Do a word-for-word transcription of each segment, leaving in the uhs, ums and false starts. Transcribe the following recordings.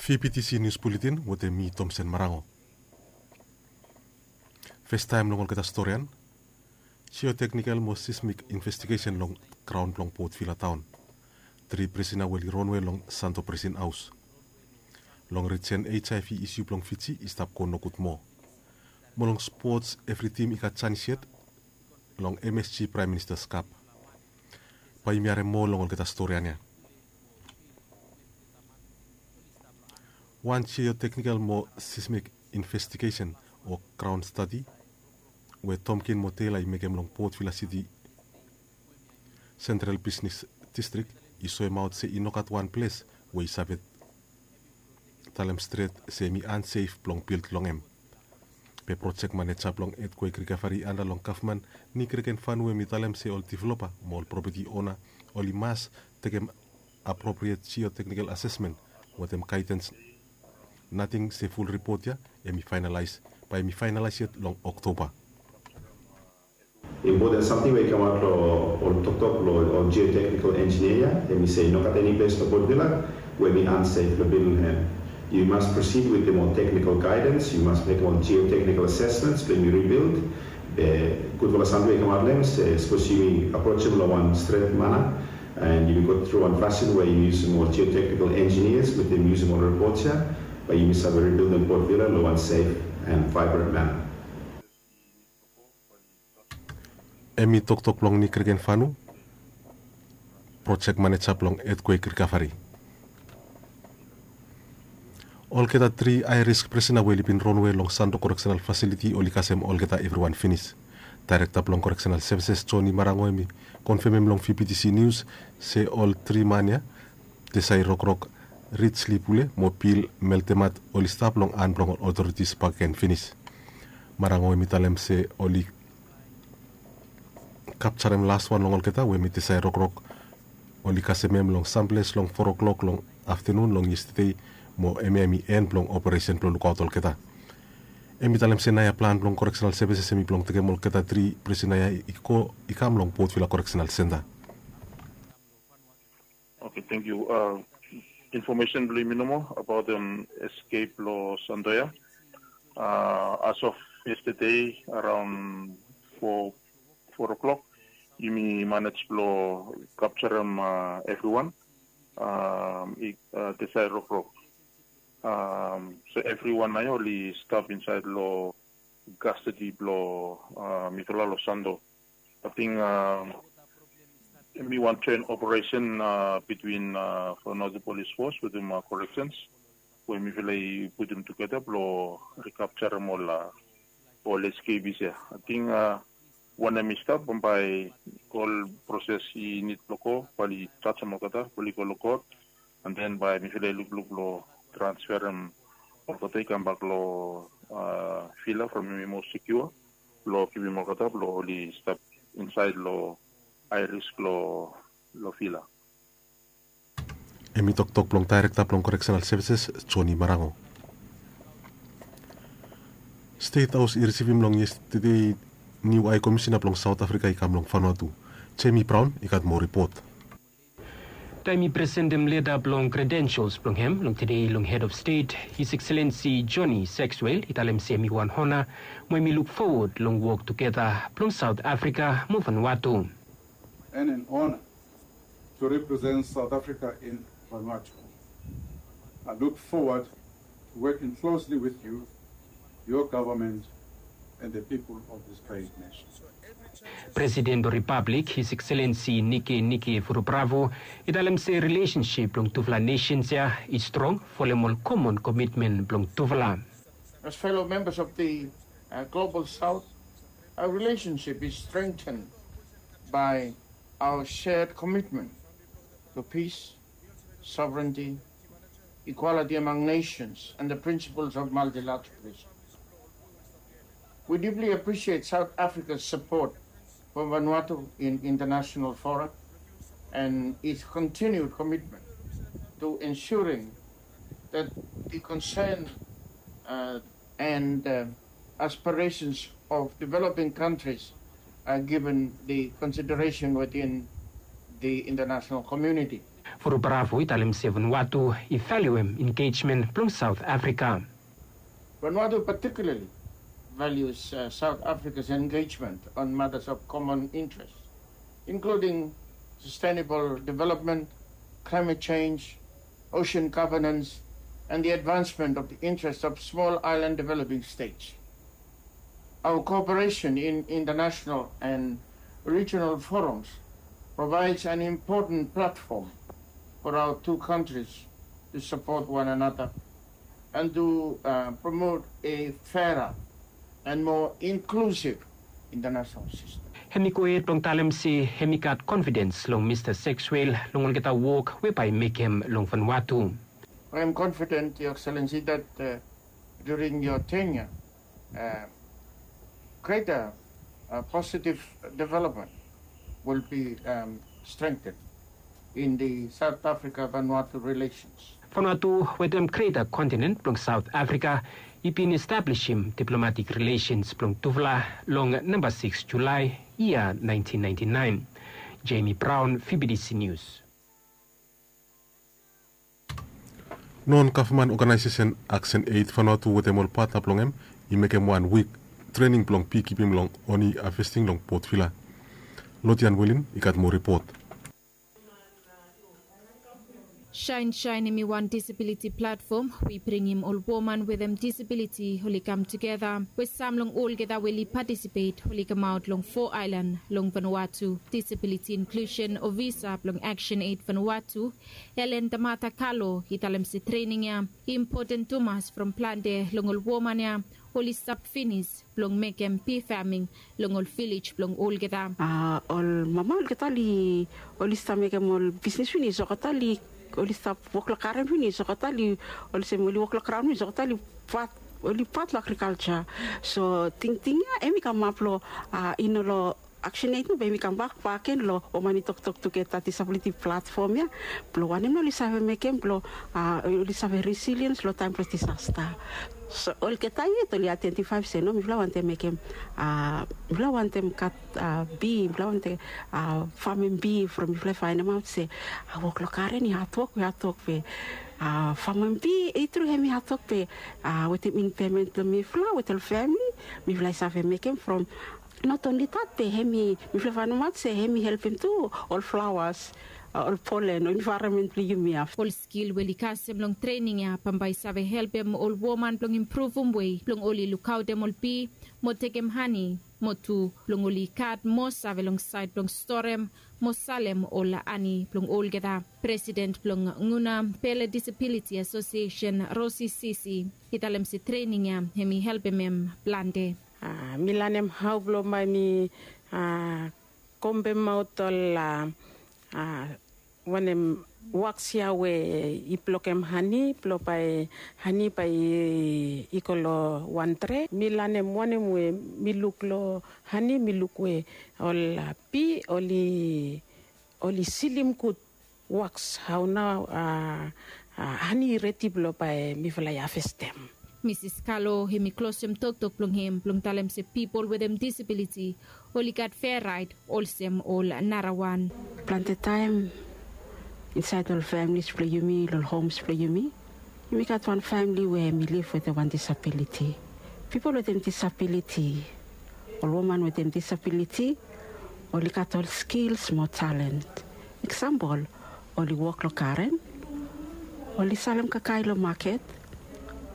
V P T C News Bulletin wetem mi Tomsen Marango. Festaem long olgeta storian, geotechnical mo seismic investigation long graon blong Port Vila taon. Tri prisina we oli ronwe long Santo Prisin Haos. Long risen H I V isu blong Fiji i stap go nogud moa. Mo long spots, evri tim i gat janis yet long M S G Prime Minister's Cup. Bae yumi harem moa long olgeta storian ya. Wan geotechnical mo seismic investigation o graon stadi we Tomkin mo Taylor i mekem long Port Vila City Central Business District i soemaot se i no gat wan ples we i save talem stret se hemi unsafe blong bild long hem. Be project manager blong earthquake recovery anda long gavman, Nick Regenfanu, hemi talem se ol developer mo ol property owner oli mas tekem appropriate geotechnical assessment wetem guidance. Nating se full report ya hemi finalize, bae hemi finalize yet long October. Important samting we i kamaot long ol toktok blong ol geotechnical engineer ya, hemi se i no gat eni ples long Port Vila we hemi unsafe blong bild long hem. You must proceed wetem ol technical guidance, you must mekem ol geotechnical assessments blong yumi rebuild. Be gudfala samting we i kamaot long hem se sapos yumi aprojem long wan stret mana, and yumi go tru wan fasin we yumi yusum ol geotechnical engineers wetem yusum ol reports ya, bae yumi save rebuildim Port Vila long wan safe and vibrant manner. Hemi toktok blong Nick Regenfanu, project manager blong earthquake recovery. Olgeta tri high risk prisina we oli bin ronwe long Santo Correctional Facility oli kasem olgeta evriwan finis. Director blong Correctional Services, Johnny Marango, hemi konfemem long V P T C News se ol tri man ya, Tesai Rokrok, Richly Pule mo Bill Meltemat, oli stap long han blong ol authorities bakegen finis. Marango hemi talem se oli kapjarem laswan long olgeta we hemi Tesai Rokrok, oli kasem hem long samples long foa klok long aftenun long yestede, mo hemia hemi en blong operesen blong lukaot olgeta. Hemi talem se naoia plan blong Correctional Services hemi blong tekem olgeta tri prisina ya i go, i kam long Port Vila Correctional Center. Oke, tangkiu. Infomesen blong yumi nomo abaot escape blong Santo ya. As of yesterday, around four, four o'clock, yumi manage blong kapjarem evriwan, Tesai Rokrok. So evriwan naoia oli stap insaed long custody blong mifala long Santo. Ating hemi wan joint operation between Vanuatu Police Force wetem Corrections, we mifala i putum tugeta blong recapturem ol, ol escapees ya. Ating wanem i stap, bambae ol proses i nid blong go, bae oli jajem olgeta, bae oli go long kot, and then bae mifala i lukluk blong transferem olgeta i kambak long vila from hemi moa secure, blong givim olgeta blong oli stap insaed long high risk long, long vila. Hemi toktok blong Director blong Correctional Services, Johnny Marango. State Haos i risivim long yestede niu High Commissioner blong South Africa i kam long Vanuatu. Jamie Brown i gat moa ripot. Taem i presentem leta blong credentials blong hem long tede long Head of State, His Excellency Johnny Sexwell i talem se hemi wan honor, mo hemi luk fowod long wok tugeta blong South Africa mo Vanuatu. And an honor to represent South Africa in Vanuatu. I look forward to working closely with you, your government, and the people of this great nation. Presiden blong Ripablik, His Excellency Nikenike Vurobaravu, i talem se relationship blong tufala nations ya i strong folem ol common commitment blong tufala. As fellow members of the, uh, Global South, our relationship is strengthened by our shared commitment to peace, sovereignty, equality among nations, and the principles of multilateralism. We deeply appreciate South Africa's support for Vanuatu in international fora and its continued commitment to ensuring that the concern, uh, and, uh, aspirations of developing countries are given the consideration within the international community. Vuru Bravo i talem se Vanuatu i valiuem engejmen blong Saot Afrika. Vanuatu particularly values South Africa's engagement on matters of common interest, including sustainable development, climate change, ocean governance, and the advancement of the interests of small island developing states. Our cooperation in international and regional forums provides an important platform for our two countries to support one another and to promote a fairer and more inclusive international system. Hem i go hed blong talem se hem i gat konfidens long Mista Sexwell long olgeta wok we bae i mekem long Vanuatu. I am confident, Your Excellency, that during your tenure, greater positive development will be strengthened in the South Africa-Vanuatu relations. Vanuatu wetem greta kontinen blong Saot Afrika i bin establisim diplomatik rilesens blong tufala long namba sikis Julae yia naentin naentin naen. Jamie Brown, V B D C News. Non gavman oganaesesen Aksen Eit Vanuatu wetem ol patna blong hem i mekem wan wik trening blong bikipim long oni havesting long Port Vila. Lodian Welin i gat moa ripot. Shine Shine hem i wan disabiliti platfom we i bringim ol woman wetem disabiliti oli kam tugeta we sam long olgeta we oli patisipet oli kamaot long fo aelan long Vanuatu. Disabiliti inklusen ofisa blong Aksen Eit Vanuatu, Elen Tamata Kalo, i talem se trening ya i impoten tumas from plante long ol woman ya oli stap finis blong mekem bi faming long ol vilej blong olgeta. A ol mama olgeta oli oli stap mekem ol bisnis finis olgeta oli oli stap wok long garen finis olgeta oli olsem oli wok long graon finis olgeta oli pat oli pat long agrikalja. So tingting ya hem i kamap long a i no long Aksen Eit nao bae yumi kambak bak gen long woman i toktok tugeta disabiliti platfom ya blong wanem nao oli save mekem blong a oli save resiliens long taem blong disasta. So olgeta yet oli aidentifae se no mifala wantem mekem a mifala wantem gat a bi mifala wantem a famem bi from mifala i faenemaot se a wok long garen i hatwok we hatwok we a famem bi i tru hem i hatwok we a wetem inpemen blong mifala wetem ol famili mifala i save mekem from not onli dat be hem i mifala i faenemaot se hem i helpem tu ol flawas ol polen ol envaeronmen blong yumi ya. Ol skil we oli kasem long trening ya bambae i save helpem ol woman blong impruvum wei blong oli lukaotem ol bi mo tekem hani mo tu blong oli gat moa save long saed blong storem mo salem ol hani blong olgeta. Presiden blong Nguna Pele Disabiliti Asosiesen Rosi Sisi i talem se trening ya hem i helpem hem plante. A mi lanem hao blong bae mi a kombemaot ol a a wanem waks ya we i blokem hani blong bae hani bae i go long wan dre. Mi lanem wanem we mi luk long hani mi luk we ol a bi oli oli silim gud waks hao nao a hani i redi blong bae mifala i havestem. Misis Kalo hem i klosem toktok blong hem blong talem se pipol wetem disabiliti oli gat fea raet olsem ol narawan. Plante taem insaed long ol familis blong yumi long ol homs blong yumi yumi gat wan famili we hem i liv wetem wan disabiliti. Pipol wetem disabiliti ol woman wetem disabiliti oli gat ol skils mo talen. Eksampol oli wok long garen oli salem kakae long maket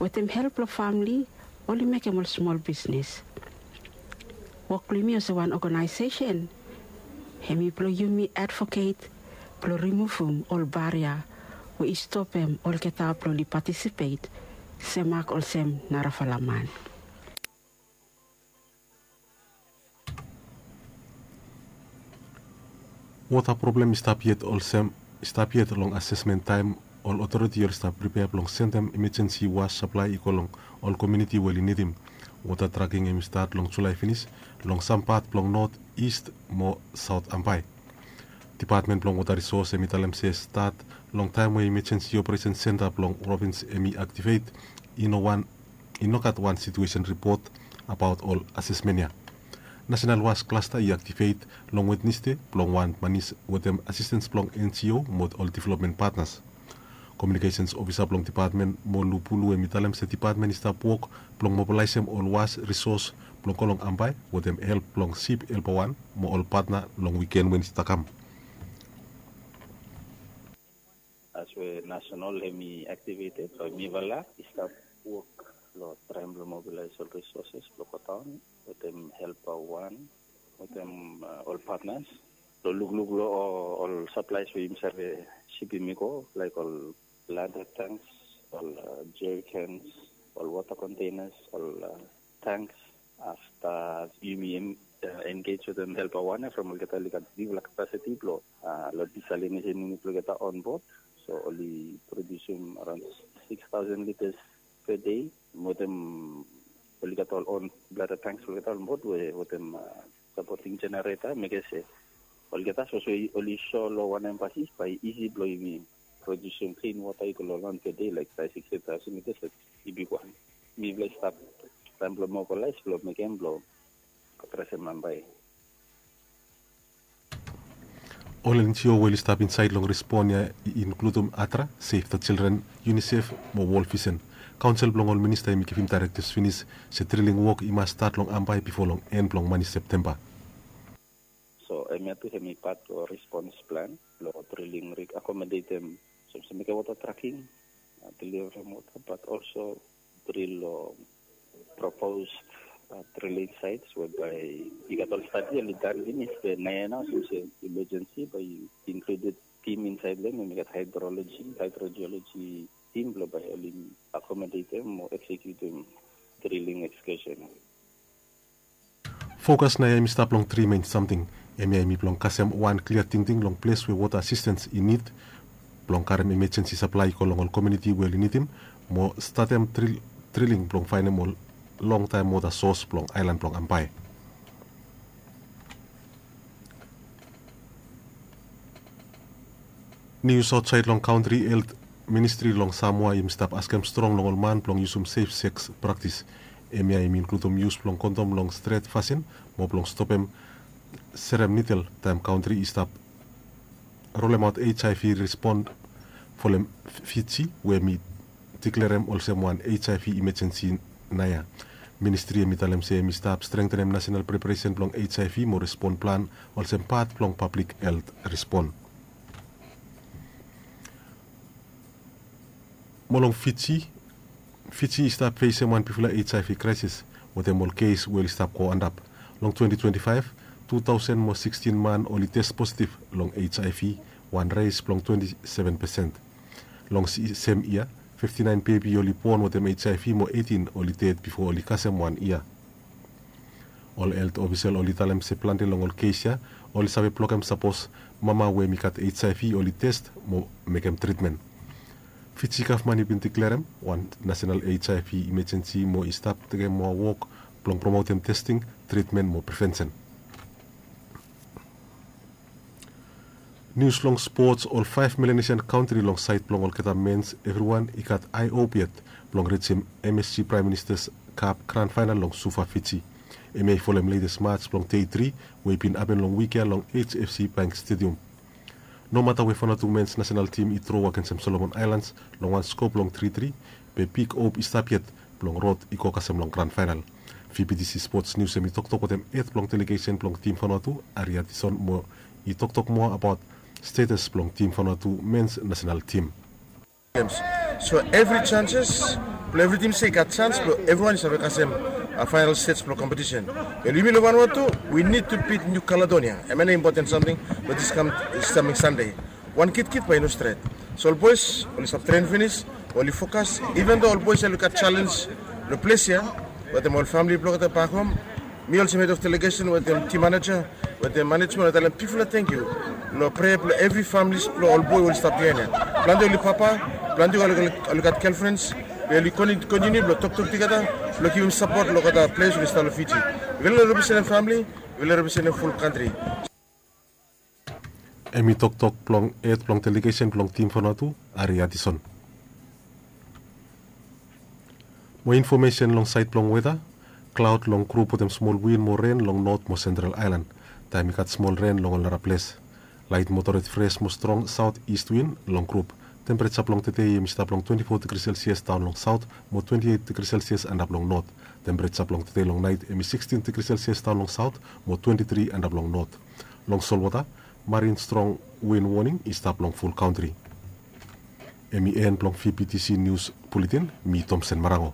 wetem help blong famili oli mekem ol smol bisnis. Wok blong yumi olsem wan oganaesesen hem i blong yumi advoket blong rimuvum ol baria we i stopem olgeta blong oli patisipet semak olsem narafala man. Wota problem i stap yet olsem i stap yet long asesmen taem ol otoriti oli stap pripea blong sendem imejensi was saplae i go long ol komiuniti we oli nidim. Wota traking hem i stat long Julae finis long sam pat blong not, ist mo saot Ambae. Dipatmen blong wota risos hem i talem se stat long taem we imejensi operesen senta blong provins hem i aktivet i no wan i no gat wan situesen ripot abaot ol asesmen ya. Nasenal Was Klasta i aktivet long Wednesde blong wan manis wetem asistens blong N G O mo ol developmen patnas. Komiunikesens ofisa blong depatmen mo Lupulu hem i talem se depatmen i stap wok blong mobilaesem ol was risos blong go long Ambae wetem help blong sip helpa wan mo ol patna long wiken we i stap kam. As we nasenal hem i aktiveted, so mifala i stap wok long traem blong mobilaes ol risoses blong godaon wetem helpa wan wetem ol patnas blong lukluk long ol saplaes we yumi save sipim i go, laek ol bladder tanks, ol jerikens, ol wota kontenas, ol tanks. Afta yumi engej wetem helpa wan ya from olgeta oli gat bigfala kapasiti blong long disaliniesen yunit blong olgeta onbod. So oli prodiusim araon sikis taosen litas per dei wetem oli gat ol on bladder tanks blong olgeta onbod we wetem sapoting jenereta, mekem se olgeta sapos we oli so long wan empasis bae i isi blong yumi prodiusim klin wota i go long wan per dei laek bae sikis taosen litas, i bigwan. Mifala i stap taem blong mobilaes blong mekem blong adresem Ambae. Ol N G O we oli stap insaed long respon ya i inkludum ADRA, Save the Children, UNICEF mo World Vision. Kaonsel blong ol minista hem i givim daerektivs finis se drilling wok i mas stat long Ambae bifo long en blong manis Septemba. So hemia tu hem i pat blong respons plan blong drilling rig, akomodetem, sapos mekem wota traking, deliverem wota, bat olso dril long proposed drilling sites we bae i gat ol stadi oli dan finis, be naoia nao since emergency bae i inkluded tim insaed long hem, i gat hydrology, hydrogeology tim blong bae oli akomodetem o eksekiutem drilling excursion. Fokas naoia hem i stap long tri men samting. Hemia hem i blong kasem wan klia tingting long ples we wota asistens i nid blong karem emejensi saplae i go long ol komuniti we oli nidim mo statem drilling blong faenem ol longtaem wota sos blong aelan blong Ambae. Nius aotsaed long kantri, helt ministri long Samoa hem i stap askem strong long ol man blong yusum sef seks praktis. Hemia hem i inkludum yus blong kondom long stret fasin mo blong stopem serem nidel taem kantri i stap rolemaot HIV respon folem Fiji we hem i diklerem olsem wan HIV imejensi naoia. Ministri hem i talem se hem i stap strengtenem nasenal preparesen blong HIV mo respon plan olsem pat blong pablik helt respon. Mo long Fiji, Fiji i stap fesem wan bigfala HIV kraesis wetem ol kes we oli stap go antap. Long twenti twenti faef, tu taosen mo sikstin man oli tes positiv long HIV, wan res blong twenti seven pesen. Long sem yia, fifti naen bebi oli bon wetem HIV mo eitin oli ded bifo oli kasem wan yia. Ol helt ofisel oli talem se plante long ol kes ya oli save blokem sapos mama we hem i gat HIV oli tes mo mekem tritmen. Fiji gavman i bin diklerem wan nasenal HIV imejensi mo i stap tekem moa wok blong promotem testing, tritmen mo prevensen. Nius long spots, ol faef Melanesian kantri long saed blong olgeta mens evriwan i gat ae op yet blong rijim MSG Praem Ministas Kap gran faenal long Suva, Fiji. Hemia i folem letes mats blong dei tri we i bin hapen long wik ya long HFC Bank Stadium. Nomata we Vanuatu mens nasenal tim i dro agensem Solomon Aelans long wan sko blong tri tri, be big op i stap yet blong rod i go kasem long gran faenal. VBTC Spots Nius hem i toktok wetem hed blong delegesen blong tim Vanuatu, Ari Adison, mo i toktok moa abaot stetas blong tim Vanuatu mens nasenal tim. So evri janses blong evri tim se i gat jans blong evriwan i save kasem faenal stej blong kompetisen. Wel, yumi long Vanuatu, we nid tu bit Niu Kaledonia. Hemia nao impoten samting blong dis kam, samting Sande. Wan kitkit bae i no stret. So ol boes oli stap tren finis, oli fokas, iven do ol boes oli gat jalenj long ples ya wetem ol famili blong olgeta bak hom. Mi olsem hed of delegesen wetem tim maneja wetem manejmen, oli talem bigfala tangkiu long prea blong evri familis blong ol boe oli stap biaen ya. Plante oli papa, plante oli gat gelfrens, be oli kontiniu blong toktok tugeta blong givim sapot long olgeta ples oli stap long Fiji. Yufala representem famili, yufala representem ful kantri. Hem i toktok blong hed blong delegesen blong tim Vanuatu, Ari Adison. Mo infomesen long saed blong weta. Klaod long grup wetem smol win mo ren long not mo sentral aelan. Taem i gat smol ren long ol naraples. Laet moderet fres mo strong saot ist win long grup. Tempereja blong tede i hem i stap long twenti fo digri selsias daon long saot mo twenti eit digri selsias antap long not. Tempereja blong tede long naet hem i sikstin digri selsias daon long saot mo twenti tri antap long not. Long solwota, marin strong win woning i stap long ful kantri. Hem i en blong vptc nius buletin. Mi tomsen marango.